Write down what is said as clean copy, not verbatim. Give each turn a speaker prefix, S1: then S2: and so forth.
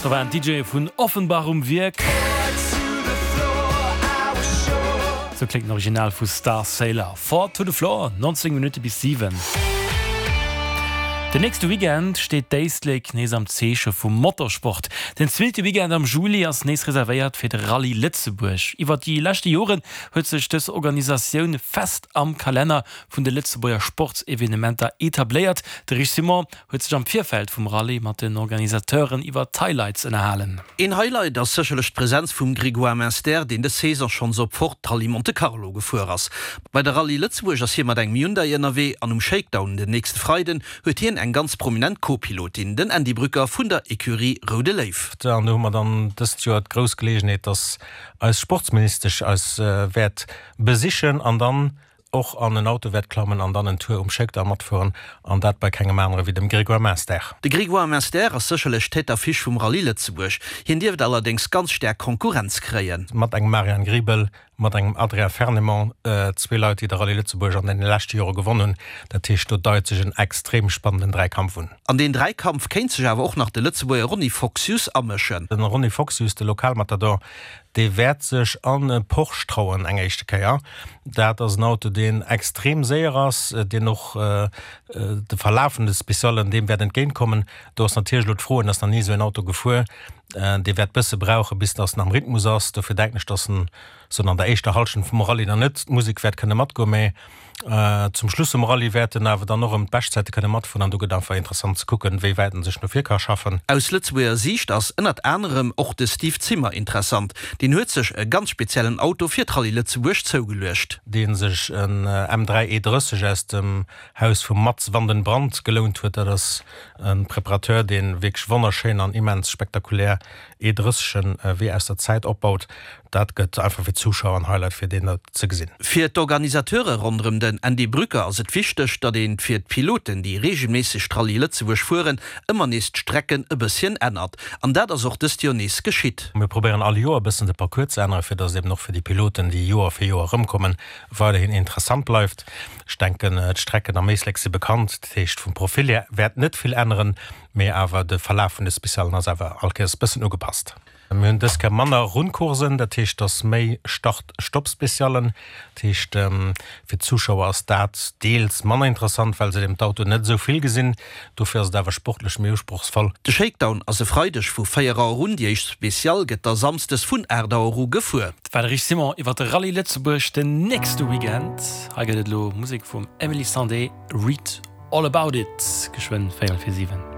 S1: Do waren d'DJe vun Offenbach um Wierk. Sou kléngt den Original vu Starsailor. Four to the Floor, 19 Minutte bis 7. Den nächste Weekend steet d'Éislek nees am Zeeche vum Motorsport. Den zweete Weekend am Juli ass nees reservéiert fir de Rallye Lëtzebuerg. Iwwer déi leschte Joren huet sech dës Organisatioun fest am Kalenner vun de Lëtzebuerger Sportsevenementer etabléiert. De Rich Simon huet sech am Virfeld vum Rallye mat den Organisateuren iwwer d'Highlights ënnerhalen.
S2: Een Highlight ass sécherlech d'Presenz vum Grégoire Munster, deen dës Saison schonns op Ford d'Rallye Monte Carlo gefuer ass. Bei der Rallye Lëtzebuerg ass hie mat engem Hyundai ënnerwee an um Shakedown den nächste Freiden huet hien eng ganz prominent Co-Pilotin, den Andy Brücker vun der Ecurie Roude Léiw.
S3: An do hu mer dann dëst Joer d'grouss Geleegenheet, dass eis Sportsministesch eis wäert besichen an dann och an en Auto wäert klammen an dann en Tour um Shakedown matfueren, an dat bei kengem anere wéi dem Grégoire Munster.
S2: De Grégoire Munster ass sécherlech d'Tête d'affiche vum Rallye Lëtzebuerg. Hien dierft allerdéngs ganz staark Konkurrenz kréien.
S3: Mat engem Marian Griebel, mat engem Adrien Fernemont, zwee Leit, déi de Rallye Lëtzebuerg an deene leschte Jore gewonn hunn. Dat heescht, do deit sech en extrem spannenden Dräikampf un.
S2: An deen Dräikampf kéint sech awer och nach de Lëtzebuerger Ronny Foxius amëschen.
S3: De Ronny Foxius, de Lokalmatador, Dee wäert sech an e Porsche trauen eng éischte Kéier. Dat ass en Auto, deen extrem séier ass, deen och de Verlaf vun de Specialen deem wäert entgéint kommen. Do ass natierlech elo d'Fro, en ass nach ni esou en Auto gefuer, dee wäert bësse brauche bis datt en am Rhythmus ass. Dofir denken ech, datt en soen an der éischter Hallschent vum Rallye nach net d'Musek wäert kënne matgoen, mä zum Schluss vum Rallye wäert en awer dann och erëm d'Beschtzäite kënne matfueren an do gëtt einfach interessant ze kucken, wéi wäit en sech no vir ka schaffen.
S2: Aus Lëtzebuerger Siicht ass ënnert anerem och de Steve Zimmer interessant. Deen huet sech e ganz speziellen Auto fir d'Rallye Lëtzebuerg zougeluecht.
S3: Dee sech en M3 E30 aus dem Haus vum Mats van den Brand gelount huet. Dat ass e Preparateur, dee wierklech wonnerschéin an immens spektakulär E30en wéi aus der Zäit opbaut. Dat gëtt einfach fir d'Zuschauer en Highlight fir deen dat ze gesinn.
S2: Fir d'Organisateure ronderëm den Andy Brücker ass et wichteg, datt een fir d'Piloten, déi reegelméisseg d'Rallye Lëtzebuerg fueren, ëmmer nees d'Strecken e bësschen ännert. An dat ass och dëst Joer nees geschitt.
S3: Mir probéieren all Joer e bëssen de Parcours ze änneren, fir datt et eben och fir déi Piloten, déi Joer fir Joer erëmkommen, weiderhin interessant bleift. Ech denken, d'Strecken am Éislek si bekannt, dat heescht vum Profil hier wäert net vill änneren, mee awer de Verlaf vun de Specialen ass awer all Kéiers e bëssen ugepasst. Mir hunn dës Kéier manner Rundcoursen, dat heescht, dass méi Start-Stopp-Speciallen. Dat heescht, fir d'Zuschauer ass dat deels manner interessant, well se eben d'Autoen net esou vill gesinn. Dofir ass et awer sportlech méi usprochsvoll.
S2: De Shakedown ass e Freideg vu 4 Auer un, déi éischt Special gëtt da Samsdes vun 8 Auer u gefuer.
S1: Dat war de Rich Simon iwwer de Rallye Lëtzebuerg den nächste Weekend. Hei gëtt et elo Musek vum Emeli Sandé, Read All About It, geschwënn véierel vir 7.